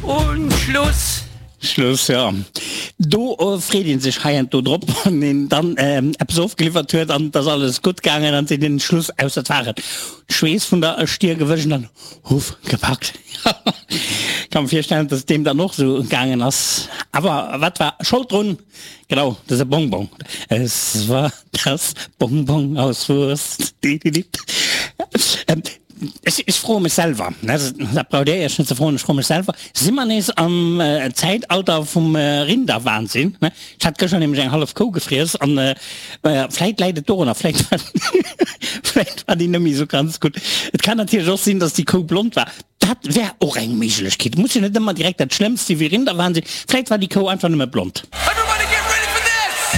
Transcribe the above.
Und Schluss! Schluss, jo. Do freet een sech hei an do drop, wann een dann eppes ofgeliwwert huet an et ass alles gutt gaangen an seet een Schluss, ausser et war et Schweess vun der Stier gewëscht an dann huff gepackt. Ka mer virstellen, dass et deem dann och esou gaangen ass. Awer wat war Schold drun? Genau, dëse Bonbon. Es war das Bonbon aus Wurst. Ech, ech froe mech selwer, dat braucht Dir Iech net ze froen, ech froe mech selwer, si mer nees am Zäitalter vum Rinderwahnsinn? Ech hat gëschter nämlech eng hallef Kou gefriess an vläit läit et dorunner, vläit war, vläit war déi net méi esou ganz gutt. Et kann natierlech och sinn, datt déi Kou blond war. Dat wär och eng Méiglechkeet. Et muss jo net ëmmer direkt dat Schlëmmst si wéi Rinderwahnsinn. Vläit war déi Kou einfach nëmme blond.